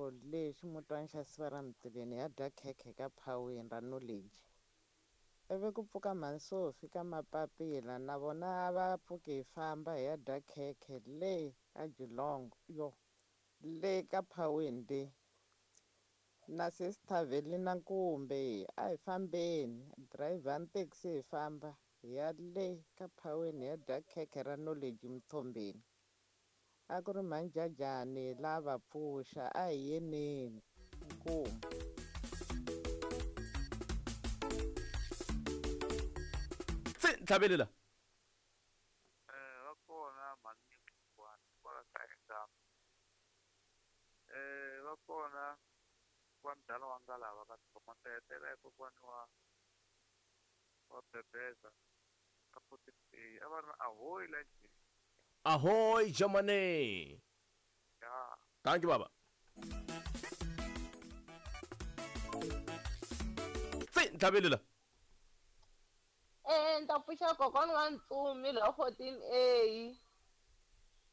Geelong le ximutwana xa Siva ra Mtileni hi ya dya khekhe ka Phawini ra Knowledge. Ivi ku pfuka mhani Sophie ka Mapapila na vona a va pfuki hi famba hi ya dya khekhe le ka Geelong yo le ka Phawini le. Na sister Velina Nkumbe a hi fambeni dirayivhani thekisi hi famba hi ya le ka Phawini hi ya dya khekhe ra Knowledge Mthombeni. A ku ri mhanjajani la va pfuxa a hi yeneni inkomu. Tsi ntlhavelela. Eh va kona mhani kokwana kwala ka Engama. Eh va kona wa mdala wa ngalava ka Thoma Tetela ya kokwani wa wa Bebeza ka 14 A a va ri na ahoy la njhe. Ahoy Germany. Ya. Thank you baba. Tsi ntlhavelela. Eh, ni ta pfuxa kokwana wa Ntsumi la 14A.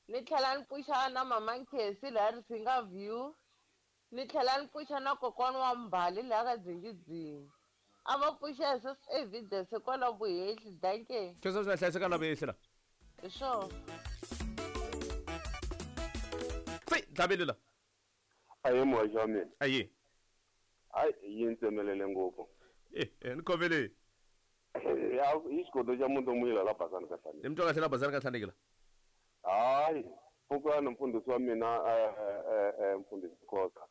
Ni tlhela ni pfuxa na mama Nkhesi laha Risinga View. Ni tlhela ni pfuxa na kokwana wa Mbali laha ka Dzingidzini. A va pfuxa hi sweswi evidence kwala Vuhehli, dankie. Sweswo swi nga hlayiseka la Vuhehli la. Hi swona. Tsi ntlhavelela. Aye muhaxi wa mina. Aye. Hayi yi ni tsemelele ngopfu. Eh, eh, ni khomele. Ya i xigodo xa muti muyila la Basani ka Hlaneki. Ni mi twa kahle la Basani ka Hlaneki la. Hayi pfukani mfundhisi wa mina eh, eh, eh, mfundhisi Khosa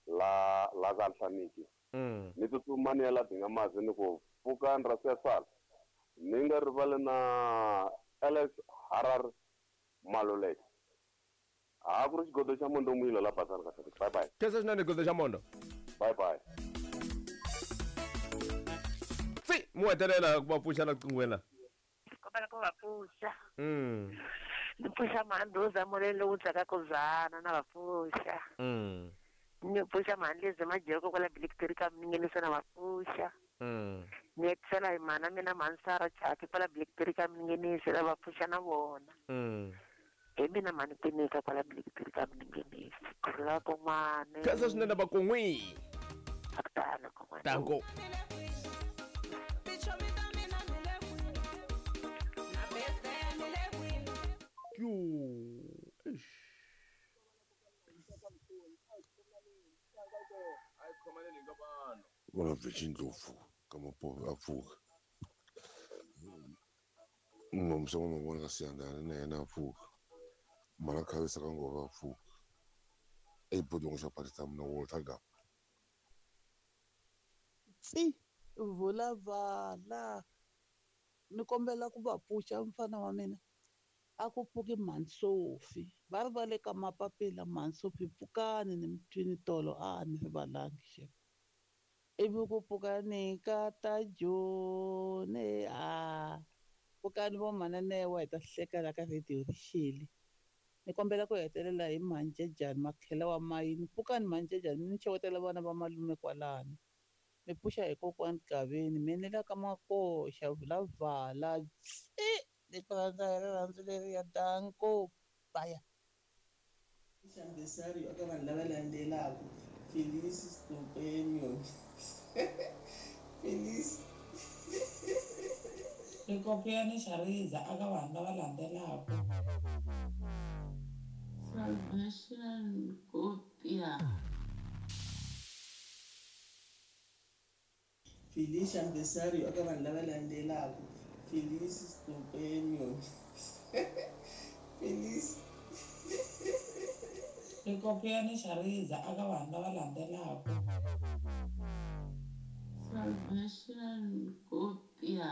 la la ka Hlaneki. Ni tsutsuma ni ya la Dingamazi ni ku pfukani ra siyasala. Ni nga rivali na Alex Harar Maluleke. Ha ku ri xigodo xa Mondo Muyila la Basani ka Hlaneki. Bye bye. Khensa swinene xigodo xa Mondo. Bye bye. Tsi mu hetelela ku va pfuxa la qingweni la. Kombela ku va pfuxa. Ni pfuxa mhandhuza molweni lowu dzakaka dzana na va pfuxa. Ni pfuxa mhandlezi majeko kwala Blackberry ka Minginisa na va pfuxa. Ni hetisela hi mhana mina mhansara Chaki kwala Blackberry ka Minginisa na va pfuxa na vona. Hi mina mhani Kwinika kwala Blackberry ka Minginisa. Kurhula kon'wana. Khensa swinene va kon'wi. Akutano kon'wana. Danko. Yo. Eish. Vona Virgin Ndlovu ka Mapope a pfuka. Nomsa wa mavona ka Siyandhani na yena a pfuka. Mhana Khavisa ka Ngove a pfuka. Ebodongo xa Pakistan na Walter Gama. Tsi vula vala ni kombela ku va pfuxa mfana wa mina a ku pfuki mhani Sophie va ri va le ka mapapila mhani Sophie pfukani ni mi twini tolo a ni rivalangi xem ivi ku pfuka ni ka ta Joni a pfukani vo mhananewa hi ta hleka la ka radio rixile ni kombela ku hetelela hi mhanjejani makhela wa mayini pfukani mhanjejani mi ni xewetela vana va malume kwalano mi pfuxa hi kokwani Gaveni mi ni la ka makoxa vula vala tsi ni ku rhandza hi rirhandzu leriya danko baya. Xambesario eka vanhu lava landzelaka Felice Stupenio Felice Xikopiyani xa riza aka vanhu lava landzelaka. Salvation Kopia. Felice Ambesario eka vanhu lava landzelaka Felice Stupenio Felice Xikopiyani xa riza aka vanhu lava landzelaka. Salvation Kopia.